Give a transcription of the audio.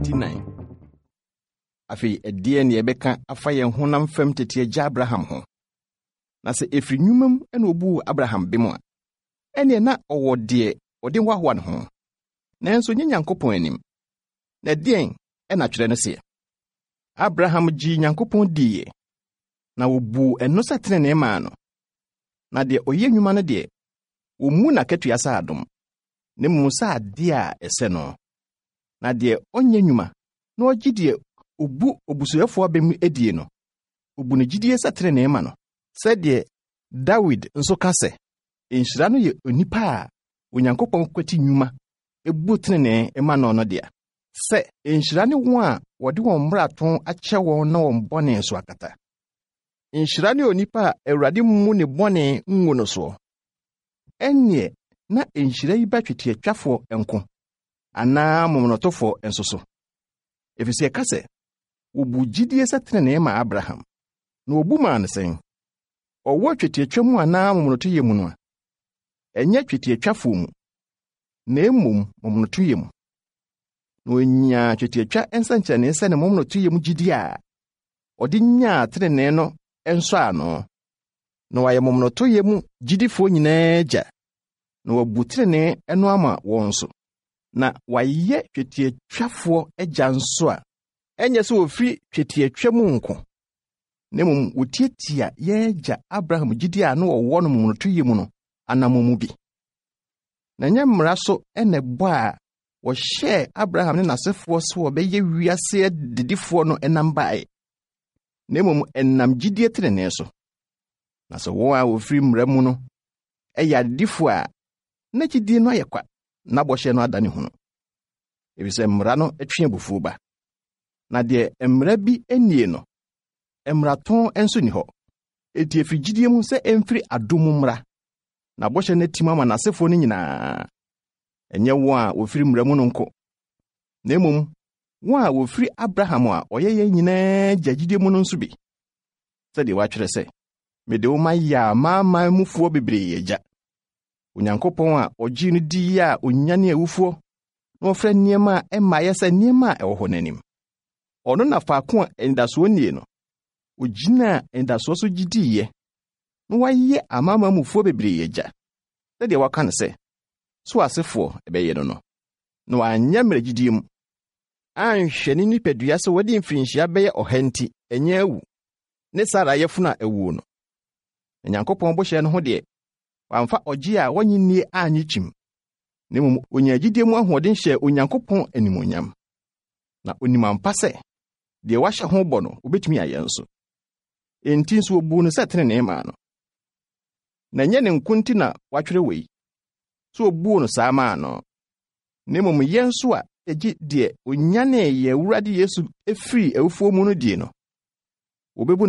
4. Afei ɛdeɛn na yɛbɛka afa yɛn honam fam tete agya Abraham ho? Na sɛ ɛfiri nnwuma mu na wɔbuu Abraham bem a, ɛnneɛ na ɔwɔ deɛ ɔde hoahoa ne ho, nanso nyɛ Nyankopɔn anim. Na ɛdeɛn na twerɛ no seɛ? Abraham gyee Nyankopɔn diiɛ, na wɔbuu ɛno sɛ tenenee maa no. Na deɛ ɔyɛ nnwuma no deɛ, wɔmmu n'akatua sɛ adom, na mmom sɛ adeɛ a ɛsɛ no. Na deɛ ɔnyɛ nnwuma na ɔgye deɛ ɔbu obusuyɛfoɔ abem die no, ɔbu ne gyidie sɛ tenenee ma no. Sɛdeɛ Dawid nso ka sɛ, Nhyira no yɛ onipa a Onyankopɔn kwati nnwuma bu tenenee ma no no dea. Sɛ nhyira ne wɔn a wɔde wɔn mmarato akyɛ wɔn na wɔn bɔne nso akata. Nhyira ne onipa a Awurade mmu ne bɔne ngu no soɔ. Ɛnneɛ na nhyira yi ba twetiatwafoɔ nko, anaa momonotofoɔ nso so. Ɛfiri sɛ ɛka sɛ, wɔbu gyidie sɛ tenenee ma Abraham. Na wɔbu maa no sɛn? Ɔwɔ twetiatwa mu anaa momonotoyɛ mu no a? Ɛnyɛ twetiatwafoɔ mu, na mmom momonotoyɛ mu. Na ɔnyaa twetiatwa nsɛnkyerɛnne sɛ ne momonotoyɛ mu gyidie a ɔde nyaa tenenee no nsɔano, na wayɛ momonotoyɛ mu gyidifoɔ nyinaa agya, na wabu tenenee no ama wɔn nso, na wayɛ twetiatwafoɔ agya nso a ɛnyɛ sɛ wɔfiri twetiatwa mu nko, na mmom wɔtiatia yɛn agya Abraham gyidie a na wɔwɔ no momonotoyɛ mu no anammɔn mu bi. Na ɛnyɛ mmara so na ɛbɔ a wɔhyɛɛ Abraham ne n'asefoɔ sɛ wɔbɛyɛ wiase adedifoɔ no nam baeɛ, na mmom ɛnam gyidie tenenee so. Na sɛ wɔn a wɔfiri mmara mu no yɛ adedifoɔ a, na gyidie no ayɛ kwa, na bɔhyɛ no adane hunu. Efisɛ mmara no twe abufuo ba. Na deɛ mmara bi nnie no, mmarato nso nni hɔ. Enti ɛfiri gyidie mu sɛ ɛmfiri adom mu mmra, na bɔhyɛ no atim ama n'asefoɔ no nyinaa, ɛnyɛ wɔn a wɔfiri mmara mu no nko, na mmom wɔn a wɔfiri Abraham a ɔyɛ yɛn nyinaa agya gyidie mu no nso bi. Sɛdeɛ wɔatwerɛ sɛ, Mede wo mayɛ amanaman mufoɔ bebree agya. Onyankopɔn a ɔgyee no diiɛ a ɔnyane awufoɔ na ɔfrɛ nneɛma a ɛmmaeɛ sɛ nneɛma a ɛwɔ hɔ no anim. Ɔno na faako a anidasoɔ nnie no, ɔgyinaa anidasoɔ so gye diiɛ na wayɛ amanaman mufoɔ bebree agya, sɛdeɛ wɔaka no sɛ, So asefoɔ bɛyɛ no no. Na wanyɛ mmerɛ gyidie mu, anhwɛ ne nipadua sɛ wadi mfirinhyia bɛyɛ ɔha nti ɛnyɛ awu, ne Sara yafunu a awuo no. Na Nyankopɔn bɔhyɛ no ho deɛ, wamfa ɔgye a wɔnnye nnie annye kyim, na mmom ɔnyaa gyidie mu ahoɔden hyɛɛ Onyankopɔn animuonyam. Na ɔnim ampa sɛ, deɛ wahyɛ ho bɔ no, ɔbɛtumi ayɛ nso. Enti nso wɔbuu no sɛ tenenee maa no. Na ɛnyɛ ne nko nti na wɔatwerɛ wei, sɛ wɔbuu no saa maa no, na mmom yɛn nso a yɛgye deɛ ɔnyanee yɛn Awurade Yesu firii awufoɔ mu no die no, wɔbɛbu